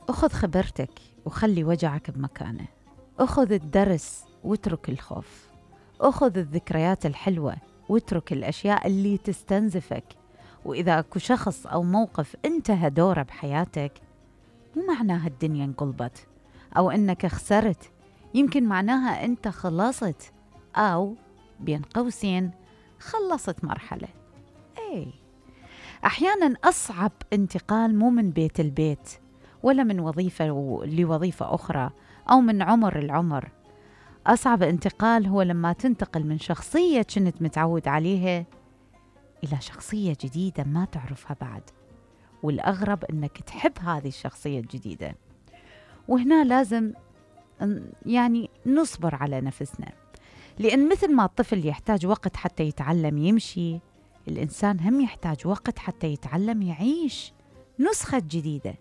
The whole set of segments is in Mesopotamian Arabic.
أخذ خبرتك وخلي وجعك بمكانه. أخذ الدرس واترك الخوف. أخذ الذكريات الحلوة واترك الأشياء اللي تستنزفك. وإذا أكو شخص أو موقف انتهى دوره بحياتك، مو معناها الدنيا انقلبت أو أنك خسرت، يمكن معناها أنت خلصت أو بين قوسين خلصت مرحلة. أحياناً أصعب انتقال مو من بيت البيت ولا من وظيفة لوظيفة أخرى أو من عمر العمر. أصعب انتقال هو لما تنتقل من شخصية كنت متعود عليها إلى شخصية جديدة ما تعرفها بعد، والأغرب أنك تحب هذه الشخصية الجديدة. وهنا لازم نصبر على نفسنا، لأن مثل ما الطفل يحتاج وقت حتى يتعلم يمشي، الإنسان هم يحتاج وقت حتى يتعلم يعيش نسخة جديدة.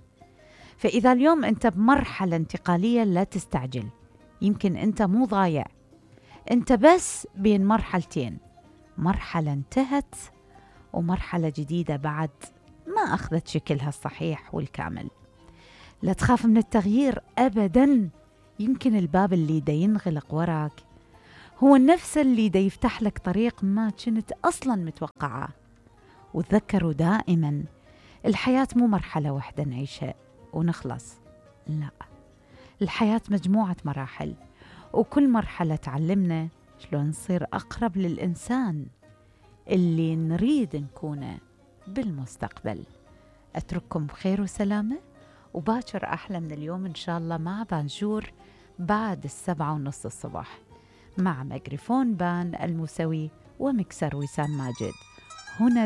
فإذا اليوم أنت بمرحلة انتقالية لا تستعجل، يمكن أنت مو ضايع، أنت بس بين مرحلتين، مرحلة انتهت ومرحلة جديدة بعد ما أخذت شكلها الصحيح والكامل. لا تخاف من التغيير أبداً، يمكن الباب اللي دا ينغلق وراك هو نفس اللي دا يفتح لك طريق ما كنت أصلاً متوقعه. وتذكروا دائماً الحياة مو مرحلة واحدة نعيشها ونخلص، لا، الحياة مجموعة مراحل، وكل مرحلة تعلمنا شلون نصير أقرب للإنسان اللي نريد نكونه بالمستقبل. أترككم بخير وسلامة، وباكر أحلى من اليوم إن شاء الله مع بانجور بعد 7:30 الصباح مع ميكروفون بان الموسوي ومكسر وسام ماجد. هنا